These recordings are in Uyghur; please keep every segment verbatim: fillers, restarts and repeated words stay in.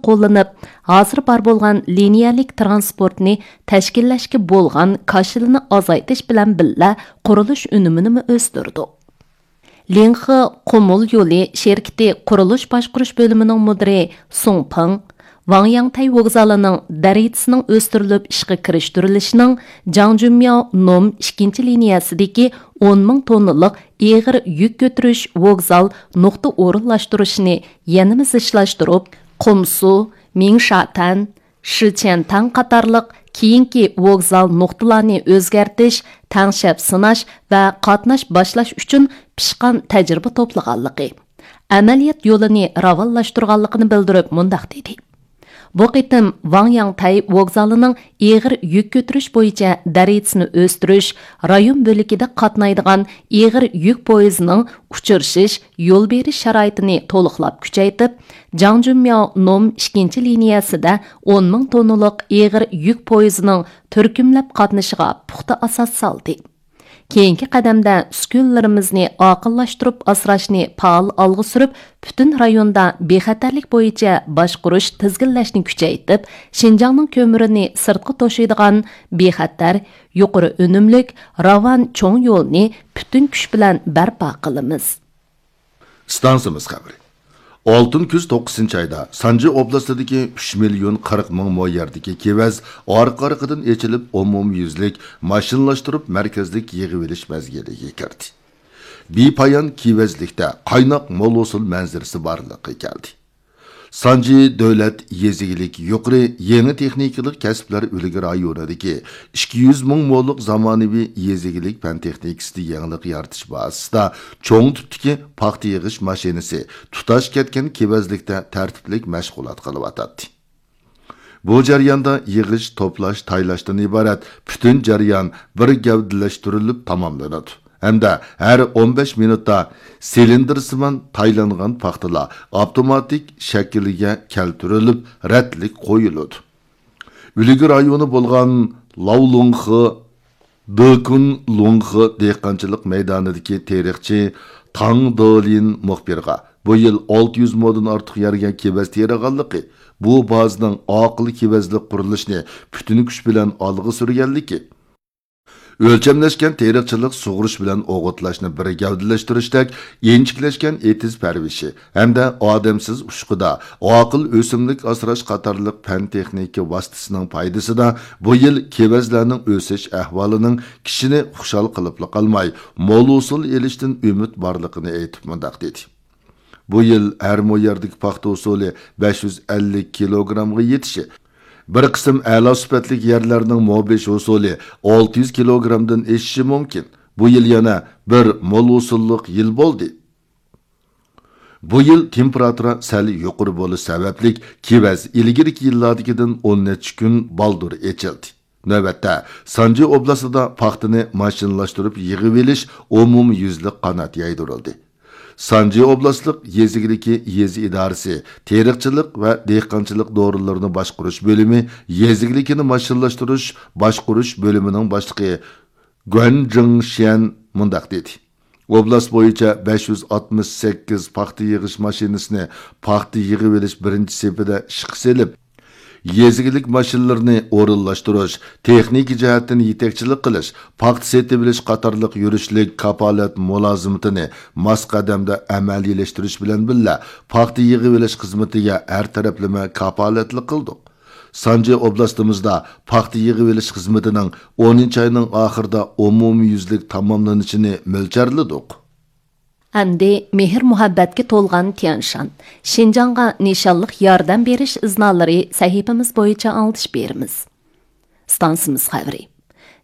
قوللىنىپ، ھازىر بار بولغان لىنىيەلىك تىرانسپورتنى تەشكىللەشكە بولغان كاشىلىنى ئازايتىش بىلەن بىللە، قۇرۇلۇش ئۈنۈمىنىمۇ ئۆستۈردۇق. لىڭخې قۇمۇل يولى شىركىتى قۇرۇلۇش باشقۇرۇش بۆلۈمىنىڭ مۇدىرى سۇڭ پېڭ، ۋاڭياڭتەي ۋوگزالىنىڭ دەرىجىسىنىڭ ئۆستۈرۈلۈپ ئىشقا كىرىشتۈرۈلۈشىنىڭ جاڭجۈنمياۋ نوم ئىككىنچى لىنىيەسىدىكى ئون مىڭ توننىلىق ئېغىر يۈك كۆتۈرۈش ۋوگزال نۇقتا ئورۇنلاشتۇرۇشىنى يەنىمۇ زىچلاشتۇرۇپ، قۇمسۇ، مىڭشاتەن، شىچيەنتاڭ قاتارلىق كېيىنكى ۋوگزال نۇقتىلارنى ئۆزگەرتىش، تەڭشەپ سىناش ۋە قاتناش باشلاش ئۈچۈن پىشقان تەجرىبە توپلىغانلىقى، ئەمەلىيەت يولىنى راۋانلاشتۇرغانلىقىنى بىلدۈرۈپ مۇنداق دېدى: بۇ قېتىم ۋاڭياڭتەي ۋوگزالىنىڭ ئېغىر يۈك كۆتۈرۈش بويىچە دەرىجىسىنى ئۆستۈرۈش، رايون بۆلىكىدە قاتنايدىغان ئېغىر يۈك پويىزىنىڭ ئۇچرىشىش، يول بېرىش شارائىتىنى تولۇقلاپ كۈچەيتىپ، جاڭجۈنمياۋ نوم ئىككىنچى لىنىيەسىدە ئون مىڭ توننىلىق ئېغىر يۈك پويىزىنىڭ تۈركۈملەپ قاتنىشىغا پۇختا ئاساس سالدى. كېيىنكى قەدەمدە ئۈسكۈنىلىرىمىزنى ئاقىللاشتۇرۇپ ئاسراشنى پائال ئالغا سۈرۈپ، پۈتۈن رايوندا بىخەتەرلىك بويىچە باشقۇرۇش، تىزگىنلەشنى كۈچەيتىپ، شىنجاڭنىڭ كۆمۈرىنى سىرتقا توشۇيدىغان بىخەتەر، يۇقىرى ئۈنۈملۈك، راۋان چوڭ يولنى پۈتۈن كۈچ بىلەن بەرپا قىلىمىز. ئىستانسىمىز خەۋىرى. ئالتۇن كۈز توققۇزىنچى ئايدا سانجى ئوبلاستىدىكى ئۈچ مىليون قىرىق مىڭ مو يەردىكى كېۋەز ئارقا-ئارقىدىن ئېچىلىپ، ئومۇميۈزلۈك ماشىنىلاشتۇرۇپ مەركەزلىك يىغىۋېلىش مەزگىلىگە كىردى. بىپايان كېۋەزلىكتە قايناق مول ھوسۇل مەنزىرىسى بارلىققا كەلدى. سانجى دۆلەت يېزا ئىگىلىكى يۇقىرى يېڭى تېخنىكىلىق كەسىپلەر ئۈلگە رايونىدىكى ئىككى يۈز مىڭ مولۇق زامانىۋى يېزا ئىگىلىك پەن تېخنىكىسىدا يېڭىلىق يارىتىش بازىسىدا چوڭ تىپتىكى پاختا يىغىش ماشىنىسى تۇتاش كەتكەن كېۋەزلىكتە تەرتىپلىك مەشغۇلات قىلىۋاتاتتى. بۇ جەرياندا يىغىش، توپلاش، تايلاشتىن ئىبارەت پۈتۈن جەريان بىر گەۋدىلەشتۈرۈلۈپ تاماملىنىدۇ ھەمدە ھەر ئون بەش مىنۇتتا سىلىندىرسىمان تايلانغان پاختىلار ئاپتوماتىك شەكىلگە كەلتۈرۈلۈپ، رەتلىك قويۇلىدۇ. ئۈلگە رايونى بولغان لاۋلۇڭخې، دېكۇنلۇڭخې دېھقانچىلىق مەيدانىدىكى تېرىقچى تاڭ دېلىن مۇخبىرغا بۇ يىل ئالتە يۈز مودىن ئارتۇق يەرگە كېۋەز تېرىغانلىقى، بۇ بازىنىڭ ئاقىل كېۋەزلىك قۇرۇلۇشىنى پۈتۈن كۈچ بىلەن ئالغا سۈرگەنلىكى، ئۆلچەملەشكەن تېرىقچىلىق، سۇغۇرۇش بىلەن ئوغۇتلاشنى بىر گەۋدىلەشتۈرۈشتەك ئىنچىكىلەشكەن ئېتىز پەرۋىشى ھەمدە ئادەمسىز ئۇچقۇدا ئاقىل ئۆسۈملۈك ئاسراش قاتارلىق پەن تېخنىكا ۋاسىتىسىنىڭ پايدىسىدا بۇ يىل كېۋەزلەرنىڭ ئۆسۈش ئەھۋالىنىڭ كىشىنى خۇشال قىلىپلا قالماي، مول ھوسۇل ئېلىشتىن ئۈمىد بارلىقىنى ئېيتىپ مۇنداق دېدى. بۇ يىل ھەر مو يەردىكى پاختا ھوسۇلى بەش يۈز ئەللىك كىلوگرامغا يېتىشى، بىر قىسىم ئەلا سۈپەتلىك يەرلەرنىڭ مو بېشى ھوسۇلى ئالتە يۈز كىلوگرامدىن ئېشىشى مۇمكىن. بۇ يىل يەنە بىر مول ھوسۇللۇق يىل بولدى. بۇ يىل تېمپېراتۇرا سەل يۇقىرى بولۇش سەۋەبلىك، كېۋەز ئىلگىرىكى يىللاردىكىدىن ئون نەچچە كۈن بالدۇر ئېچىلدى. نۆۋەتتە، سانجى ئوبلاستىدا پاختىنى ماشىنىلاشتۇرۇپ يىغىۋېلىش ئومۇميۈزلۈك قانات يايدۇرۇلدى. سانجى ئوبلاستلىق يېزا ئىگىلىكى يېزا ئىدارىسى تېرىقچىلىق ۋە دېھقانچىلىق دورىلىرىنى باشقۇرۇش بۆلۈمى يېزا ئىگىلىكىنى ماشىنىلاشتۇرۇش باشقۇرۇش بۆلۈمىنىڭ باشلىقى گۇەن جىڭشيەن مۇنداق دېدى. ئوبلاست بويىچە بەش يۈز ئاتمىش سەككىز پاختا يىغىش ماشىنىسىنى پاختا يىغىۋېلىش بىرىنچى سېپىدە ئىشقا سېلىپ، يېزا ئىگىلىك ماشىنىلىرىنى ئورۇنلاشتۇرۇش، تېخنىكا جەھەتتىن يېتەكچىلىك قىلىش، پاختا سېتىۋېلىش قاتارلىق يۈرۈشلۈك كاپالەت مۇلازىمىتىنى ماس قەدەمدە ئەمەلىيلەشتۈرۈش بىلەن بىللە، پاختا يىغىۋېلىش خىزمىتىگە ھەر تەرەپلىمە كاپالەتلىك قىلدۇق. سانجى ئوبلاستىمىزدا پاختا يىغىۋېلىش خىزمىتىنىڭ ئونىنچى ئاينىڭ ئاخىرىدا ئومۇميۈزلۈك تاماملىنىشىنى مۆلچەرلىدۇق. ئەمدى مېھىر-مۇھەببەتكە تولغان تيەنشان، شىنجاڭغا نىشانلىق ياردەم بېرىش ئىزنالىرى سەھىپىمىز بويىچە ئاڭلىتىش بېرىمىز. ئىستانسىمىز خەۋىرى.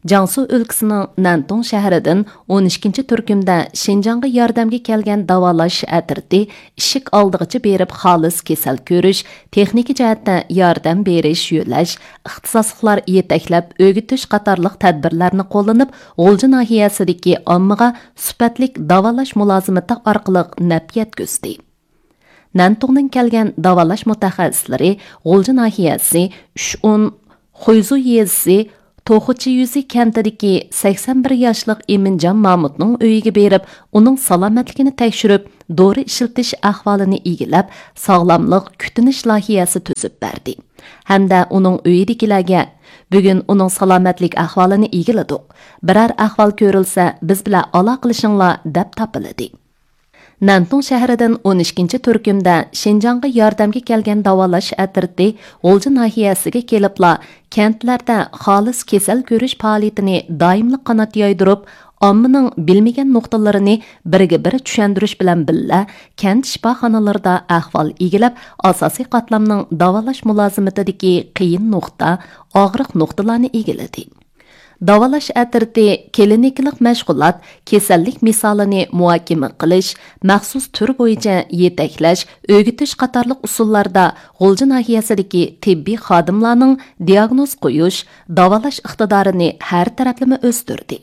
جياڭسۇ ئۆلكىسىنىڭ نەنتۇڭ شەھىرىدىن ئون ئىككىنچى تۈركۈمدە شىنجاڭغا ياردەمگە كەلگەن داۋالاش ئەترىتى ئىشىك ئالدىغىچە بېرىپ خالىس كېسەل كۆرۈش، تېخنىكا جەھەتتە ياردەم بېرىش، يۆلەش، ئىختىساسلىقلار يېتەكلەپ ئۆگىتىش قاتارلىق تەدبىرلەرنى قوللىنىپ، غۇلجا ناھىيەسىدىكى ئاممىغا سۈپەتلىك داۋالاش مۇلازىمىتى ئارقىلىق نەپ يەتكۈزدى. نەنتۇڭدىن كەلگەن داۋالاش مۇتەخەسسىسلىرى غۇلجا ناھىيەسى ئۈچ ئون، خۇيزۇ يېزىسى توخۇچى يۈزى كەنتىدىكى سەكسەن بىر ياشلىق ئىمىنجان مامۇتنىڭ ئۆيىگە بېرىپ، ئۇنىڭ سالامەتلىكىنى تەكشۈرۈپ، دورا ئىشلىتىش ئەھۋالىنى ئىگىلەپ، ساغلاملىق كۈتۈنۈش لايىھەسى تۈزۈپ بەردى ھەمدە ئۇنىڭ ئۆيىدىكىلەرگە، بۈگۈن ئۇنىڭ سالامەتلىك ئەھۋالىنى ئىگىلىدۇق. بىرەر ئەھۋال كۆرۈلسە، بىز بىلەن ئالاقىلىشىڭلار، دەپ تاپىلىدى. نەنتۇڭ شەھىرىدىن ئون ئىككىنچى تۈركۈمدە شىنجاڭغا ياردەمگە كەلگەن داۋالاش ئەترىتى غۇلجا ناھىيەسىگە كېلىپلا، كەنتلەردە خالىس كېسەل كۆرۈش پائالىيىتىنى دائىملىق قانات يايدۇرۇپ، ئاممىنىڭ بىلمىگەن نۇقتىلىرىنى بىرگە بىر چۈشەندۈرۈش بىلەن بىللە، كەنت شىپاخانىلىرىدا ئەھۋال ئىگىلەپ، ئاساسىي قاتلامنىڭ داۋالاش مۇلازىمىتىدىكى قىيىن نۇقتا، ئاغرىق نۇقتىلارنى ئىگىلىدى. داۋالاش ئەترىتى كلىنىكىلىق مەشغۇلات، كېسەللىك مىسالىنى مۇھاكىمە قىلىش، مەخسۇس تۈر بويىچە يېتەكلەش، ئۆگىتىش قاتارلىق ئۇسۇللاردا غۇلجا ناھىيەسىدىكى تېببىي خادىملارنىڭ دىئاگنوز قويۇش، داۋالاش ئىقتىدارىنى ھەر تەرەپلىمە ئۆستۈردى.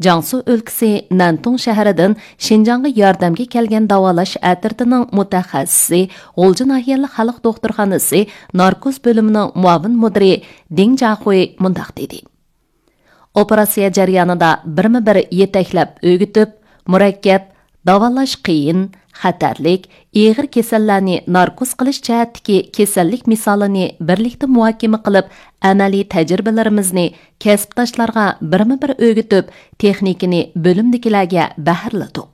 جياڭسۇ ئۆلكىسى نەنتۇڭ شەھىرىدىن شىنجاڭغا ياردەمگە كەلگەن داۋالاش ئەترىتىنىڭ مۇتەخەسسىسى، غۇلجا ناھىيەلىك خەلق دوختۇرخانىسى ناركوز بۆلۈمىنىڭ مۇئاۋىن مۇدىرى دىڭ جاخۇي مۇنداق دېدى. ئوپېراتسىيە جەريانىدا بىرمۇ بىر يېتەكلەپ ئۆگىتىپ، مۇرەككەپ، داۋالاش قىيىن، خەتەرلىك، ئېغىر كېسەللەرنى ناركوز قىلىش جەھەتتىكى كېسەللىك مىسالىنى بىرلىكتە مۇھاكىمە قىلىپ، ئەمەلىي تەجرىبىلىرىمىزنى كەسىپداشلارغا بىرمۇ بىر ئۆگىتىپ، تېخنىكىنى بۆلۈمدىكىلەرگە بەھرىلىدۇق.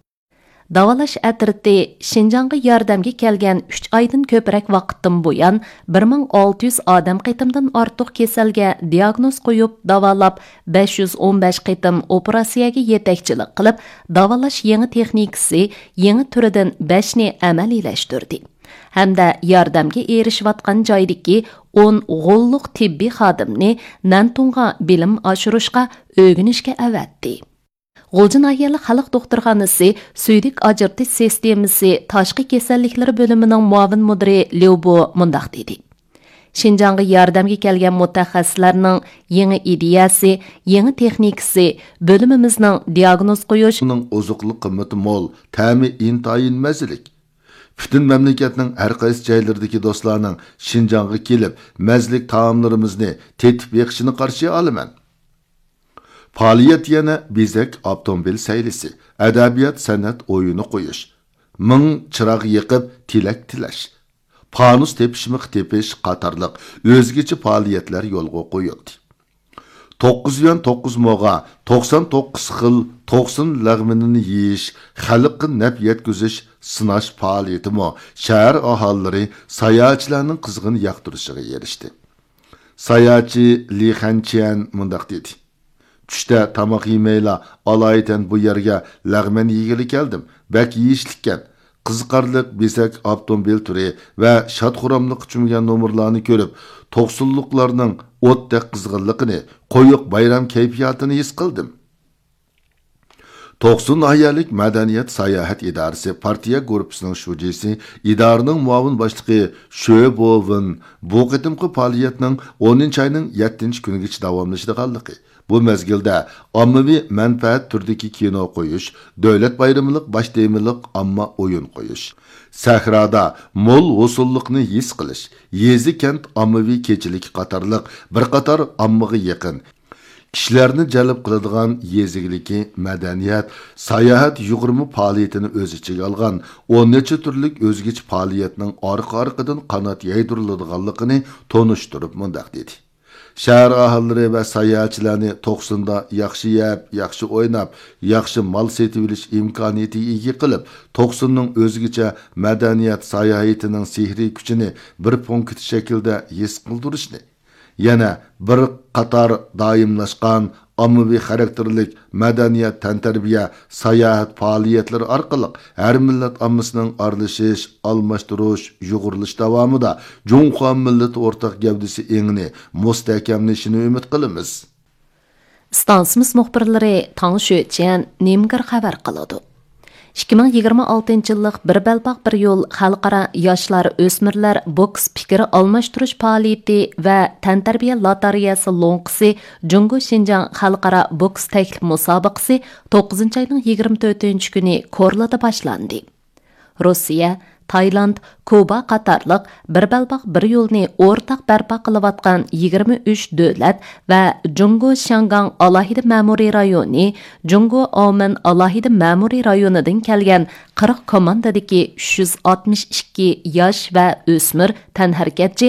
داۋالاش ئەترىتى شىنجاڭغا ياردەمگە كەلگەن ئۈچ ئايدىن كۆپرەك ۋاقىتتىن بۇيان، بىر مىڭ ئالتە يۈز ئادەم قېتىمدىن ئارتۇق كېسەلگە دىئاگنوز قويۇپ داۋالاپ، بەش يۈز ئون بەش قېتىم ئوپېراتسىيەگە يېتەكچىلىك قىلىپ، داۋالاش يېڭى تېخنىكىسى يېڭى تۈرىدىن بەشنى ئەمەلىيلەشتۈردى ھەمدە ياردەمگە ئېرىشىۋاتقان جايدىكى ئون غوللۇق تېببىي خادىمنى نەنتۇڭغا بىلىم ئاشۇرۇشقا، ئۆگىنىشكە ئەۋەتتى. غۇلجا ناھىيەلىك خەلق دوختۇرخانىسى سۈيدۈك ئاجرىتىش سىستېمىسى تاشقى كېسەللىكلىرى بۆلۈمىنىڭ مۇئاۋىن مۇدىرى ليۇ بو مۇنداق دېدى: شىنجاڭغا ياردەمگە كەلگەن مۇتەخەسسىسلەرنىڭ يېڭى ئىدىيەسى، يېڭى تېخنىكىسى، بۆلۈمىمىزنىڭ دىئاگنوز قويۇش، ئۇنىڭ ئوزۇقلۇق قىممىتى مول، تەمى ئىنتايىن مەززىلىك. پۈتۈن مەملىكەتنىڭ ھەر قايسى جايلىرىدىكى دوستلارنىڭ شىنجاڭغا كېلىپ، مەززىلىك تائاملىرىمىزنى تېتىپ بېقىشىنى قارشى ئالىمەن. پائالىيەت يەنە بېزەك ئاپتوموبىل سەيلىسى، ئەدەبىيات سەنئەت ئويۇنى قويۇش، مىڭ چىراغ يېقىپ تىلەك تىلەش، پانۇس تېپىشمىقى تېپىش قاتارلىق ئۆزگىچە پائالىيەتلەر يولغا قويۇلدى. توققۇز يۈەن توققۇز موغا توقسان توققۇز خىل توقسۇن لەغمىنىنى يېيىش، خەلققە نەپ يەتكۈزۈش، سىناش پائالىيىتىمۇ شەھەر ئاھالىلىرى، ساياھەتچىلەرنىڭ قىزغىن ياقتۇرۇشىغا ئېرىشتى. ساياھەتچى لى خەنچيەن مۇنداق دېدى: چۈشتە تاماق يېمەيلا، ئالايىتەن بۇ يەرگە لەغمەن يېگىلى كەلدىم. بەك يېيىشلىككەن. قىزىقارلىق بېزەك ئاپتوموبىل تۈرى ۋە شاد-خۇراملىققا چۆمگەن نومۇرلارنى كۆرۈپ، توقسۇنلۇقلارنىڭ ئوتتەك قىزغىنلىقىنى، قويۇق بايرام كەيپىياتىنى ھېس قىلدىم. توقسۇن ناھىيەلىك مەدەنىيەت ساياھەت ئىدارىسى پارتىيە گۇرۇپپىسىنىڭ شۇجىسى، ئىدارىنىڭ مۇئاۋىن باشلىقى شۆ بوۋېن بۇ قېتىمقى پائالىيەتنىڭ ئونىنچى ئاينىڭ يەتتىنچى كۈنىگىچە داۋاملىشىدىغانلىقى، بۇ مەزگىلدە ئاممىۋى مەنپەئەت تۈرىدىكى كىنو قويۇش، دۆلەت بايرىملىق باش تېمىلىق ئامما ئويۇن قويۇش، سەھرادا مول ھوسۇللۇقنى ھېس قىلىش، يېزا-كەنت ئاممىۋى كېچىلىكى قاتارلىق بىر قاتار ئاممىغا يېقىن، كىشىلەرنى جەلپ قىلىدىغان يېزا ئىگىلىكى، مەدەنىيەت، ساياھەت يۇغۇرما پائالىيىتىنى ئۆز ئىچىگە ئالغان ئون نەچچە تۈرلۈك ئۆزگىچە پائالىيەتنىڭ ئارقا-ئارقىدىن قانات يايدۇرۇلىدىغانلىقىنى تونۇشتۇرۇپ مۇنداق دېدى: شەھەر ئاھالىلىرى ۋە ساياھەتچىلەرنى توقسۇندا ياخشى يەپ، ياخشى ئويناپ، ياخشى مال سېتىۋېلىش ئىمكانىيىتىگە ئىگە قىلىپ، توقسۇننىڭ ئۆزگىچە مەدەنىيەت ساياھىتىنىڭ سېھرىي كۈچىنى بىر پونكىت شەكلىدە ھېس قىلدۇرۇشنى، يەنە بىر قاتار دائىملاشقان ئاممىۋى خاراكتېرلىك مەدەنىيەت، تەنتەربىيە، ساياھەت پائالىيەتلىرى ئارقىلىق ھەر مىللەت ئاممىسىنىڭ ئارىلىشىش، ئالماشتۇرۇش، يۇغۇرۇلۇش داۋامىدا جۇڭخۇا مىللىتى ئورتاق گەۋدىسى ئېڭىنى مۇستەھكەملىشىنى ئۈمىد قىلىمىز. ئىستانسىمىز مۇخبىرلىرى تاڭ شۆچيەن، نىمگېر خەۋەر قىلىدۇ. ئىككى مىڭ يىگىرمە ئالتىنچى يىللىق بىر بەلباغ بىر يول خەلقئارا ياشلار، ئۆسمۈرلەر بوكس پىكىر ئالماشتۇرۇش پائالىيىتى ۋە تەنتەربىيە لاتارىيەسى لوڭقىسى جۇڭگو شىنجاڭ خەلقئارا بوكس تەكلىپ مۇسابىقىسى توققۇزىنچى ئاينىڭ يىگىرمە تۆتىنچى كۈنى كورلىدا باشلاندى. روسىيە، تايلاند، كۇبا قاتارلىق بىر بەلباغ بىر يولنى ئورتاق بەرپا قىلىۋاتقان يىگىرمە ئۈچ دۆلەت ۋە جۇڭگو شياڭگاڭ ئالاھىدە مەمۇرىي رايونى، جۇڭگو ئاۋمېن ئالاھىدە مەمۇرىي رايونىدىن كەلگەن قىرىق كوماندىدىكى ئۈچ يۈز ئاتمىش ئىككى ياش ۋە ئۆسمۈر تەنھەرىكەتچى